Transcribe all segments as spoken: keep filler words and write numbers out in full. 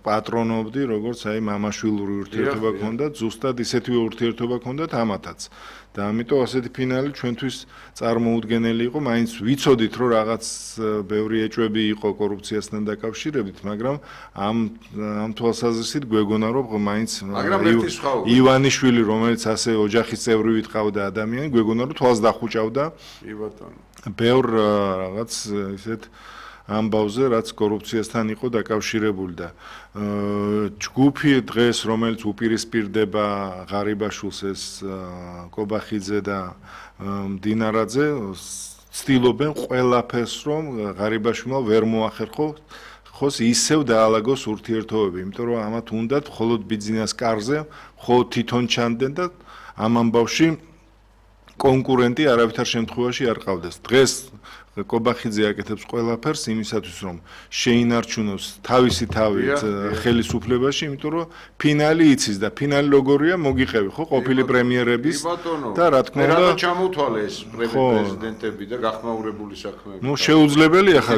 პატრონობდი, როგორც აი მამაშვილური ურთიერთობა გქონდათ, ზუსტად ისეთივე ურთიერთობა გქონდათ ამათაც. და ამიტომ ასეთი ფინალი ჩვენთვის წარმოუდგენელი იყო, მაინც ვიცოდით, რომ რაღაც ბევრი ეჭვები იყო კორუფციასთან დაკავშირებით, მაგრამ ამ ამ თვალსაზრისით გვეგონა, რომ მაინც ივანიშვილი, რომელიც ასე ოჯახის წევრი ვიყავდა ადამიანი, გვეგონა, რომ თვალს დახუჭავდა. კი ბატონო. ბევრ რაღაც ისეთ ამბავზე, რაც კორუფციასთან იყო დაკავშირებული და ჯგუფი დღეს, რომელიც უპირისპირდება ღარიბაშვილს ეს კობახიძე და მდინარაძე, ცდილობენ ყველაფერს, რომ ღარიბაშვილმა ვერ მოახერხოს ისევ დაალაგოს ურთიერთობები, იმიტომ რომ ამათ უნდათ მხოლოდ ბიძინას კარზე, მხოლოდ თვითონ ჩანდნენ და ამ ამბავში კონკურენტი არავითარ შემთხვევაში არ ყავდეს. დღეს კობახიძე აკეთებს ყველაფერს იმისათვის, რომ შეინარჩუნოს თავისი თავით ხელისუფლებაში, იმიტომ რომ ფინალი იცის და ფინალი როგორია, მოგიყევი ხო, ყოფილი პრემიერების და რა თქმა უნდა, რა ჩამოთვალე ეს პრეზიდენტები და გახმაურებული საქმეები. ნუ შეუძლებელია ხა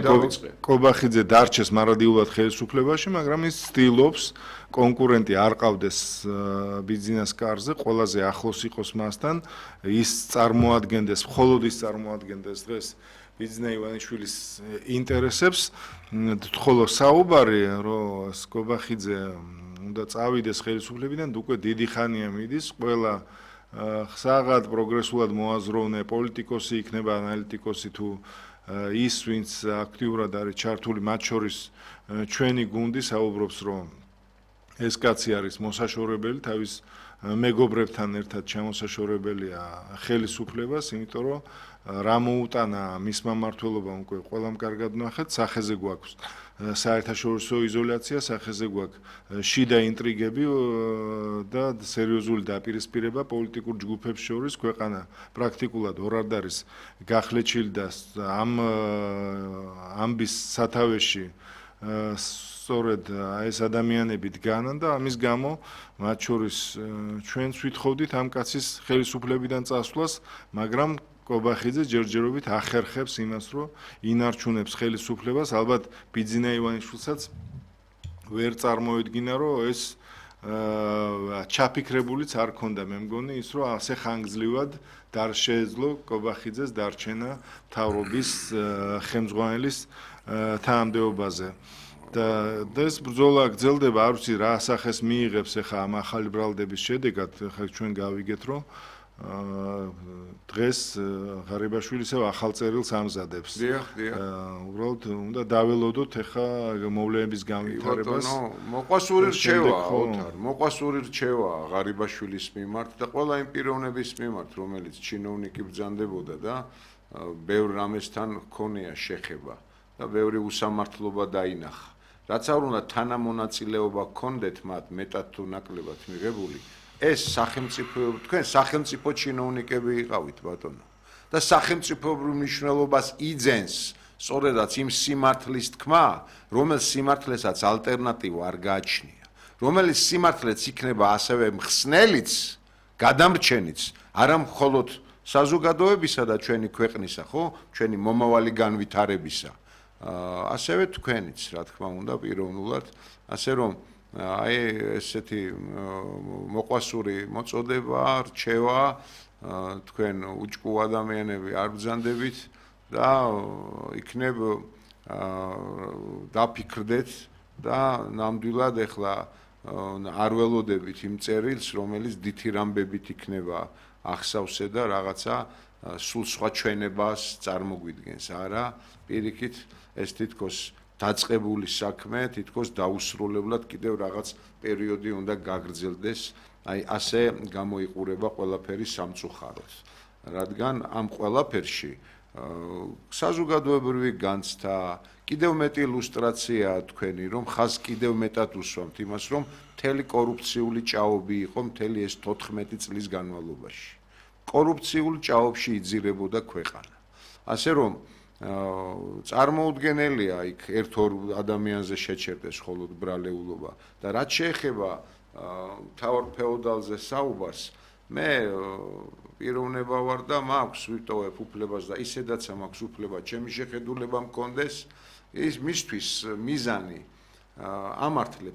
კობახიძე დარჩეს მარადიულად ხელისუფლებაში, მაგრამ ის ცდილობს კონკურენტი არ ყავდეს ბიძინას კარზე, ყველაზე ახლოს იყოს მასთან, ის წარმოადგენდეს, მხოლოდ ის წარმოადგენდეს დღეს ბიძინა ივანიშვილის ინტერესებს, ხოლო საუბარი, რომ კობახიძე უნდა წავიდეს ხელისუფლებიდან, უკვე დიდი ხანია მიდის, ყველა ხსაღად პროგრესულად მოაზროვნე პოლიტიკოსი იქნება, ანალიტიკოსი თუ ის, ვინც აქტიურად არის ჩართული, მათ შორის ჩვენი გუნდი საუბრობს, რომ ეს კაცი არის მოსაშორებელი, თავის მეგობრებთან ერთად ჩამოსაშორებელია ხელისუფლებას, იმიტომ რომ რა მოუტანა მის მმართველობამ უკვე ყველამ კარგად ნახეთ, სახეზე გვაქვს საერთაშორისო იზოლაცია, სახეზე გვაქვს შიდა ინტრიგები და სერიოზული დაპირისპირება პოლიტიკურ ჯგუფებს შორის, ქვეყანა პრაქტიკულად ორ არ არის გახლეჩილი და ამ ამბის სათავეში სწორედ ეს ადამიანები დგანან და ამის გამო მათ შორის ჩვენც ვითხოვდით ამ კაცის ხელისუფლებიდან წასვლას, მაგრამ კობახიძე ჯერჯერობით ახერხებს იმას, რომ ინარჩუნებს ხელისუფლებას, ალბათ ბიძინა ივანიშვილსაც ვერ წარმოედგინა, რომ ეს ჩაფიქრებულიც არ ქონდა, მე მგონი ის, რომ ასე ხანგრძლივად დარ შეეძლო კობახიძეს დარჩენა მთავრობის ხელმძღვანელის თანამდებობაზე. და ეს ბრძოლა გრძელდება, არ ვიცი რა სახეს მიიღებს ახლა ამ ახალი ბრალდების შედეგად, ახლა ჩვენ გავიგეთ, რომ დღეს ღარიბაშვილი ისევ ახალ წერილს ამზადებს. დიახ, დიახ. უბრალოდ უნდა დაველოდოთ ახლა მოვლენების განვითარებას. მოყვასური რჩევა, ოთარ, მოყვასური რჩევა ღარიბაშვილის მიმართ და ყველა იმ პიროვნების მიმართ, რომელიც ჩინოვნიკი ბრძანდებოდა და ბევრ რამესთან ჰქონია შეხება და ბევრი უსამართლობა დაინახა. რაც არ უნდა თანამონაწილეობა გქონდეთ მათ მეტად თუ ნაკლებად მიღებული, ეს სახელმწიფო, თქვენ სახელმწიფო ჩინოვნიკები იყავით ბატონო და სახელმწიფოებრივ მნიშვნელობას იძენს სწორედაც იმ სიმართლის თქმა, რომელიც სიმართლესაც ალტერნატივა არ გააჩნია, რომელიც სიმართლეც იქნება ასევე მხსნელიც, გადამრჩენიც, არა მხოლოდ საზოგადოებისა და ჩვენი ქვეყნისა, ხო, ჩვენი მომავალი განვითარებისა. ასევე თქვენიც, რა თქმა უნდა, პიროვნულად, ასე რომ აი ესეთი მოყვასური მოწოდება, რჩევა, თქვენ უჭკუ ადამიანები არ ბრძანდებით და იქნებ დაფიქრდეთ და ნამდვილად ეხლა არ ველოდებით იმ წერილს, რომელიც დითი რამბებით იქნება ახსავსე და რაღაცა სულ სხვა ჩვენებას წარმოგვიდგენს, არა, პირიქით ეს თითქოს დაწყებული საქმე, თითქოს დაუსრულებლად კიდევ რაღაც პერიოდი უნდა გაგრძელდეს, აი ასე გამოიყურება ყველაფერი სამწუხაროდ. რადგან ამ ყველაფერში საზოგადოებრივი განცდა, კიდევ მეტი ილუსტრაცია თქვენი, რომ ხაზ კიდევ მეტად უსვამთ იმას, რომ მთელი კორუფციული ჭაობი იყო მთელი ეს თოთხმეტი წლის განმავლობაში. კორუფციულ ჭაობში იძირებოდა ქვეყანა. ასე რომ წარმოუდგენელია იქ ერთ-ორ ადამიანზე შეჩერდეს მხოლოდ ბრალეულობა და რაც შეეხება მთავარ ფეოდალზე საუბარს, მე პიროვნება ვარ და მაქვს ვიტოვებ უფლებას და ისედაც მაქვს უფლება ჩემი შეხედულება მქონდეს, ის მისთვის მიზანი ამართლებს